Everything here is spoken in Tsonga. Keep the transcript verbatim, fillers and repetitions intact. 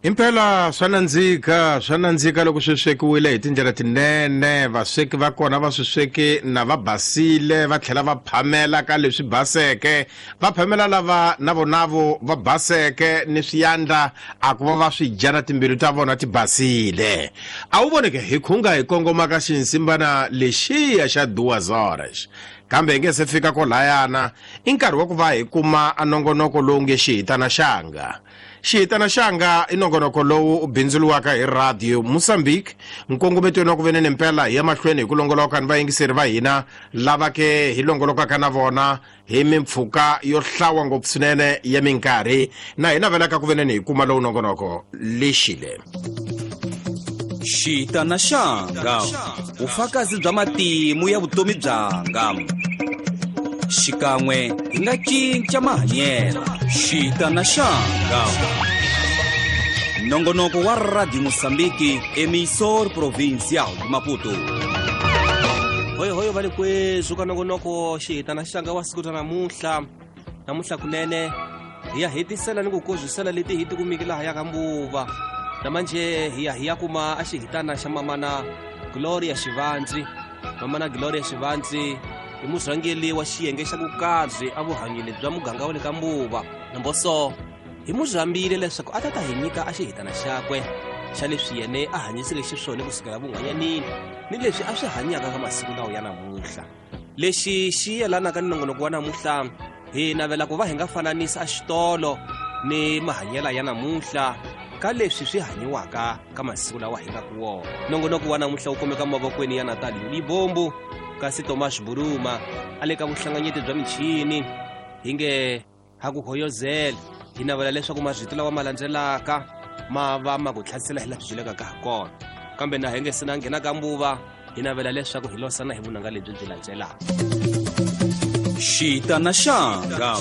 Impela swa nandzika swa nandzika loko swi swekiwile hi tindlela tinene, vasweki va kona va swi sweki na va basile, va tlhela va phamela ka leswi baseke, va phamela lava na vonavo va baseke ni swiyandla a ku va va swi dya na timbilu ta vona ti basile. A wu voneke hi khunga hi kongoma ka xinsimbana lexiya xa duas horas, kambe hi nge se fika kolayana i nkarhi wa ku va hi kuma a nongonoko lowu nge xihitana xanga. Xihitana xanga i nongonoko lowu u bindzuriwaka hi Radio Mozambique, nkongometweni wa ku venene mpela hi ya mahlweni hi ku longoloka ni vayingiseri va hina lava ke hi longolokaka na vona hi mimpfhuka yo hlawa ngopfu swinene ya minkarhi, na hi navelaka ku venene hi kuma lowu nongonoko lexile. Xihitana xanga, vufakazi bya matimu ya vutomi byanga. Xikan'we hi nga cinca mahanyelo. Xihitana xanga, nongonoko wa Radio Mozambique, emissor provincial de Maputo. Hoyo hoyo va le kweswi ka nongonoko xihitana xanga wa siku ra namuntlha. Namuntlha kunene hi ya hetisela ni ku kozwisela leti hi tikumiki laha ya ka Mbuva. Namanje hi ya hi ya kuma a xihitana xa mamana Gloria Xivandzi. Mamana Gloria Xivandzi i murhangeri wa xiyenge xa vukabyi a vuhanyeni bya muganga wa le ka Mbuva. Namboso hi murhambile leswaku a ta ta hi nyika a xihitana xakwe xa leswi yene a hanyiseke xiswona kusukela vun'wanyanini ni leswi a swi hanyaka ka masiku lawa ya namuntlha. Lexi xi yelanaka ni nongonoko wa namuntlha, hi navela ku va hi nga fananisa a xitolo ni mahanyela ya namuntlha ka leswi swi hanyiwaka ka masiku lawa hi nga ku wona. Nongonoko wa namuntlha wu kumeka mavokweni ya Natalie Libombo, kasi Tomas Buruma a le ka vuhlanganyeti bya michini. Hi nge ha ku hoyozela, hi navela leswaku marito lawa ma landzelaka ma va ma ku tlhasela hi laha swi byelekaka ha kona. Kambe na hi nge se na nghena ka Mbuva, hi navela leswaku hi losana hi vunanga lebyi byi landzelaka. Xihitana xanga,